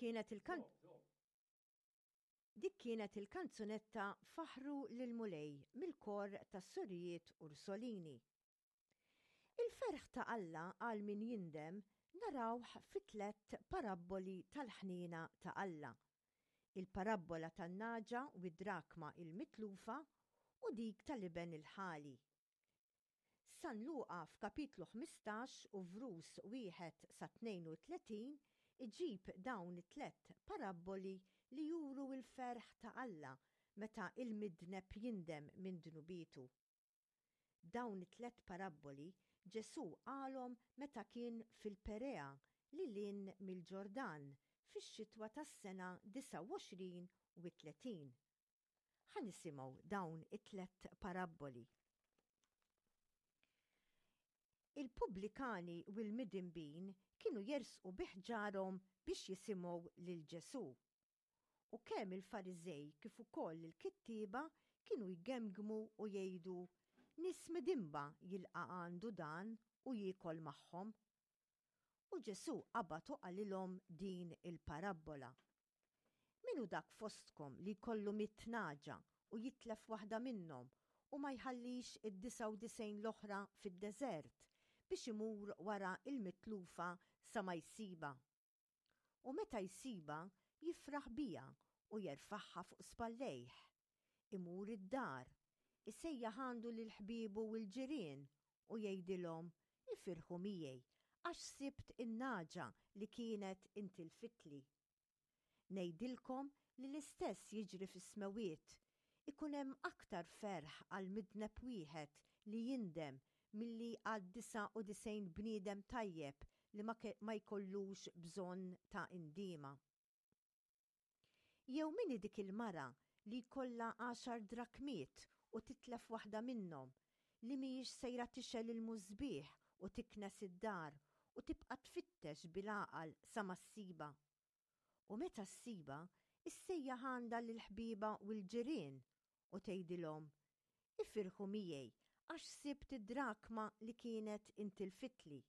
kienet il-kan Dik kienet il-kanzunetta Faħħru lill-Mulej mill-kor tas-Sorijiet Ursolini. Il-ferħ ta' Alla għal min jindem narawh fi tlett parabboli tal-ħniena ta' Alla. Il-parabbola tan-nagħġa u d-drakma il-mitlufa u dik tal-iben il-ħali. San Luqa f'kapitlu 15 u vrus 1 sa 32 iġib dawn it-tlett parabboli li juru l-ferħ ta' Alla meta l-midneb jindem minn dnubietu. Dawn it-tlett parabboli Ġesù qalhom meta kien fil-Perea lil hinn mill-Ġordan fix-xitwa tas-sena 29 u 30. Ħa nisimgħu dawn it-tlett parabboli. Il-pubblikani u l-midinbin kienu jersqu bi ħġarhom biex jisimgħu lil Ġesù. U kemm il-Fariżej kif ukoll il-kittieba kienu jgemgmu u jgħidu, Nies midinba jilqa' għandu dan u jiekol magħhom. U Ġesù qabad u qalilhom din il-parabbola. Min hu dak fostkom li jkollu mitt nagħġa u jitlef waħda minnhom u ma jħallix id-99 l-oħra fid-deżert biex imur wara l-mitlufa sa ma jsibha? U meta jsibha jifraħ biha u jerfagħha fuq spallejh. Imur id-dar, isejjaħ għandu lil ħbiebu u l-ġirien u jgħidilhom, 'Ifirħu miegħi, għax sibt in-nagħġa li kienet intilfitli. Ngħidilkom li l-istess jiġri fis-smewwiet, ikun hemm aktar ferħ għal midneb wieħed li jindem milli għal 99 bniedem tajjeb li ma jkollux bżonn ta' indiema. Jew min hi dik il-mara li jkollha għaxar drakmiet u titlef waħda minnhom, li mhijiex sejra tixgħel il-musbieħ u tiknes id-dar u tibqa' tfittex bil-għaqal sa ma ssibha? U meta ssibha, issejjaħ għandha lil ħbiebha u l-ġirien u tgħidilhom, 'Ifirħu miegħi għax sibt id-drakma li kienet intilfitli.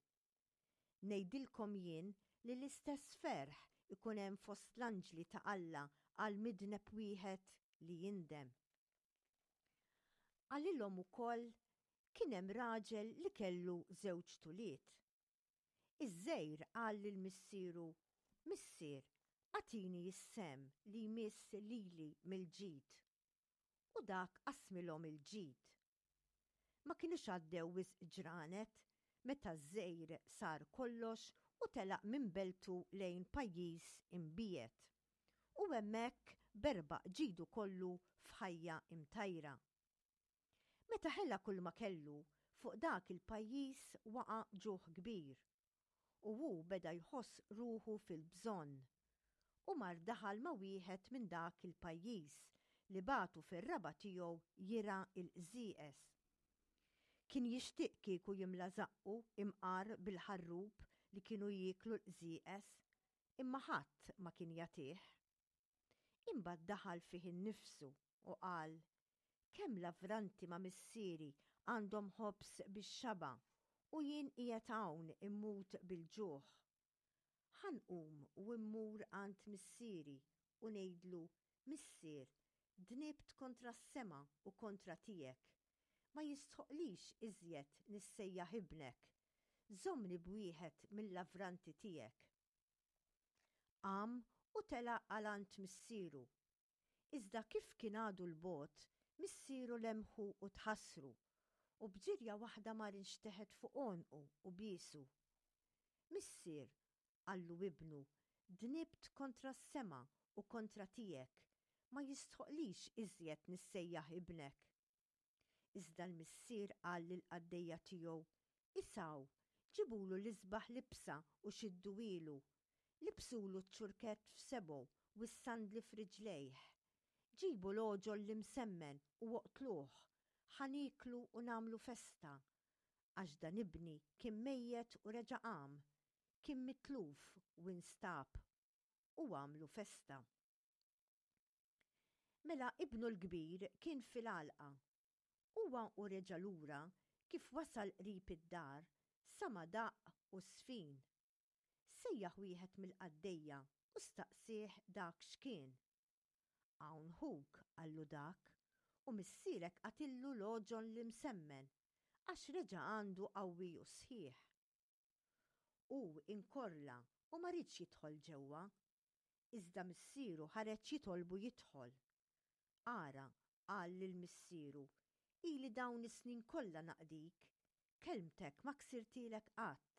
Ngħidilkom jien li l-istess ferħ ikun hemm fost l-anġli ta' Alla għal midneb wieħed li jindem. Qalilhom ukoll, Kien hemm raġel li kellu żewġt ulied. Iż-żgħir qal lil missieru, 'Missier, agħtini s-sehem li jmiss lili mill-ġid. U dak qasmilhom il-ġid. Ma kinux għaddew wisq ġranet meta ż-żgħir sar kollox u telaq minn beltu lejn pajjiż imbiegħed. U hemmhekk berbaq ġidu kollu f'ħajja imtajra. Meta ħela kulma kellu, fuq dak il-pajjiż waqa' ġuħ kbir, u hu beda jħoss ruħu fil-bżonn. U mar daħal ma' wieħed minn dak il-pajjiż li bagħtu fir-raba' tiegħu jirgħa l-qżieqeż. Kien jixtieq kieku jimla żaqqu imqar bil-ħarrub li kienu jieklu l-qżieqeż, imma ħadd ma kien jagħtih. Imbagħad daħal fih innifsu u qal, Kemm lavranti ma' missieri għandhom ħobż bix-xaba' u jien qiegħed hawn immut bil-ġuħ. Ħa nqum u mmur għand missieri u ngħidlu, 'Missier, dnibt kontra s-sema u kontra tiegħek. Ma jistħoqqlix iżjed nissejjaħ ibnek. Żommni b'wieħed mil-lavranti tiegħek. Qam u telaq għal għand missieru. Iżda kif kien għadu 'l bogħod, missieru lemħu u tħassru, u b'ġirja waħda mar inxteħet fuq għonqu u biesu. Missier, qallu ibnu, dnibt kontra s-sema u kontra tiegħek, ma jistħoqqlix iżjed nissejjaħ ibnek. Iżda l-missier qal lill-qaddejja tiegħu, Isgħu, ġibulu l-isbaħ libsa u xidduhielu. Libsulu ċ-ċurkett f'sebgħu u s-sandli f'riġlejh. Ġibu l-għoġol l-imsemmen u oqtluh, ħa nieklu u nagħmlu festa. Għax dan ibni kien mejjet u reġa' qam, kien mitluf u instab. U għamlu festa. Mela ibnu l-kbir kien fil-għalqa. Huwa u reġa' lura, kif wasal qrib id-dar, sama' daqq u żfin. Sejjaħ wieħed mill-qaddejja u staqsieh dak x'kien. Hawn ħuk, qallu dak, u missierek qatillu l-għoġon l-imsemmen, għax reġa' għandu qawwi u sħiħ. Hu inkorla u ma riedx jidħol ġewwa. Iżda missieru ħareġ jitolbu jidħol. Ara, qal lil missieru, ili dawn is-snin kollha naqdik, kelmtek ma ksirtielek qatt,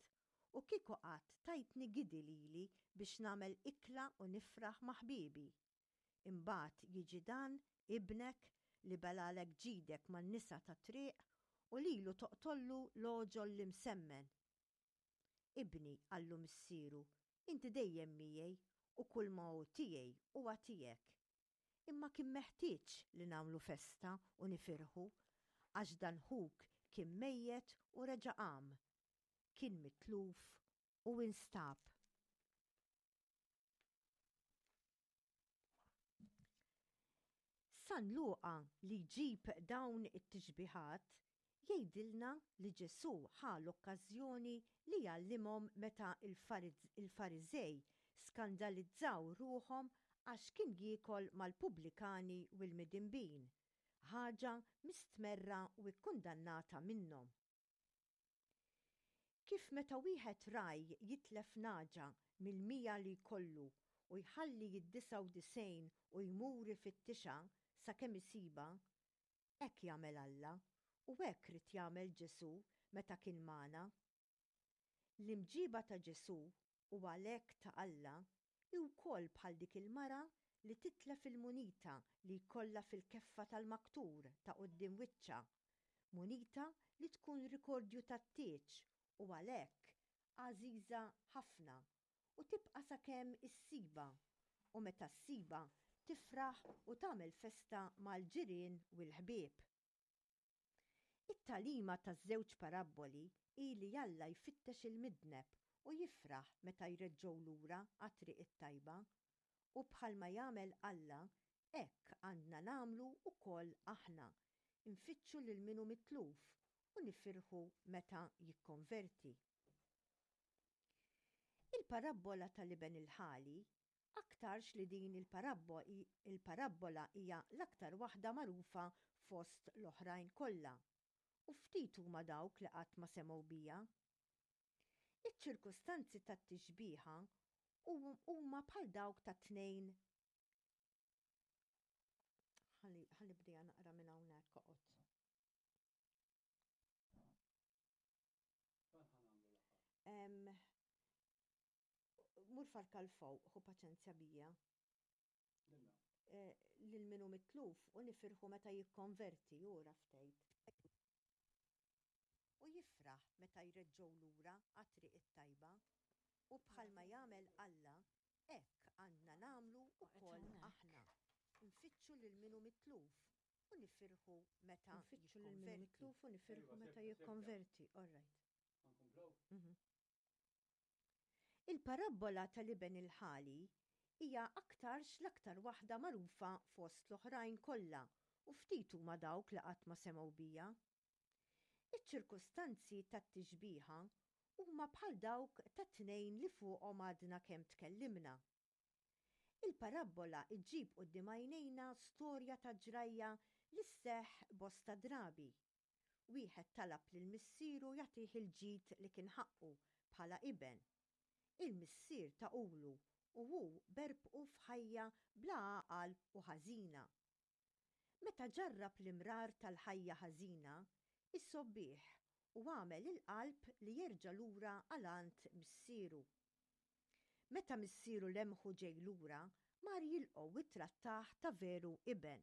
u kieku qatt tajtni gidi lili biex nagħmel ikla u nifraħ ma' ħbiebi. Imbagħad jiġi dan, ibnek, li belgħalek ġidek man-nisa tat-triq, u lilu toqtollu l-għoġol l-imsemmen. Ibni, qallu missieru, inti dejjem miegħi u kulma hu tiegħi huwa tiegħek. Imma kien meħtieġ li nagħmlu festa u nifirħu, għax dan ħuk kien mejjet u reġa' qam, kien mitluf u instab. San Luqa li jġib dawn it-tixbihat jgħidilna li Ġesù ħa l-okkażjoni li jgħallimhom meta l-Fariżej skandalizzaw ruħhom għax kien jiekol mal-pubblikani u l-midinbin, ħaġa mistmerra u kkundannata minnhom. Kif meta wieħed ragħaj jitlef nagħġa mill-100 li jkollu u jħalli d-99 u jmur ifittixha sakemm isibha, hekk jagħmel Alla u hekk ried jagħmel Ġesù meta kien magħna. L-imġiba ta' Ġesù, u għalhekk ta' Alla, hi wkoll bħal dik il-mara li titlef il-munita li jkollha fil-keffa tal-maktur ta' quddiem wiċċha, munita li tkun rikordju tat-tieġ u għalhekk għażiża ħafna u tibqa' sakemm issibha u meta ssibha tifraħ u tagħmel festa mal-ġirien u l-ħbieb. It-tagħlima taż-żewġ parabboli hi li Alla jfittex il-midneb u jifraħ meta jreġġgħu lura għat-triq it-tajba. U bħalma jagħmel Alla, hekk għandna nagħmlu wkoll aħna, infittxu lil min hu mitluf u nifirħu meta jikkonverti. Il-parabbola tal-iben il-ħali Aktarx li din il-parabbola hija l-aktar waħda magħrufa fost l-oħrajn kollha, u ftit huma dawk li qatt ma semgħu biha. Iċ-ċirkustanzi tat-tixbiha huma bħal dawk tat-tnejn Ħa nibdiha naqra minn hawnhekk oqgħod. Mur farka 'l fuq, ħu paċenzja bija. Eh, lil min hu mitluf u nifirħu meta jikkonverti, ura ftejt. U jifraħ meta jreġġgħu lura għat-triq it-tajba. U bħalma jagħmel Alla, hekk għandna nagħmlu wkoll aħna. Nfittxu lil min hu mitluf u nifirħu meta Nfittxu lil min hu mitluf u nifirħu meta jikkonverti. All right. Mhm. Il-parabbola tal-iben il-ħali hija aktarx l-aktar waħda magħrufa fost l-oħrajn kollha u ftit huma dawk li qatt ma semgħu biha. Iċ-ċirkustanzi tat-tixbiha huma bħal dawk tat-tnejn li fuqhom għadna kemm tkellimna. Il-parabbola ġġib quddiem għajnejna storja ta' ġrajja li sseħħ bosta drabi. Wieħed talab lil missieru jagħtih il-ġid li kien ħaqqu bħala iben. Il-missier tahulu u hu berbqu f'ħajja bla għaqal u ħażina. Meta ġarrab l-imrar tal-ħajja ħażina, issobbih u għamel il-qalb li jerġa' lura għal għand missieru. Meta missieru lemħu ġej lura, mar jilqgħu u ttrattah ta' veru iben.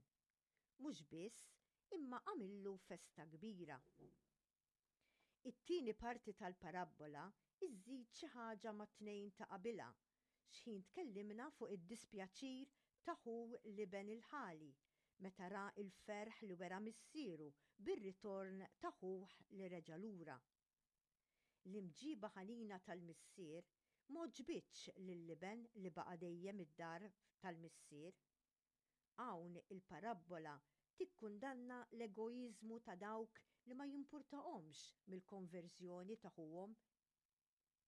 Mhux biss, imma għamillu festa kbira. It-tieni parti tal-parabbola żżid xi ħaġa mat-tnejn ta' qabilha, x'ħin tkellimna fuq id-dispjaċir ta' ħu l-iben il-ħali meta ra l-ferħ li wera missieru bir-ritorn ta' ħuh li reġa' lura. L-imġiba ħanina tal-missier m'għoġbitx lill-iben li baqa' dejjem id-dar tal-missier. Hawn il-parabbola tikkundanna l-egoiżmu ta' dawk li ma jimpurtahomx mill-konverżjoni ta' ħuhom.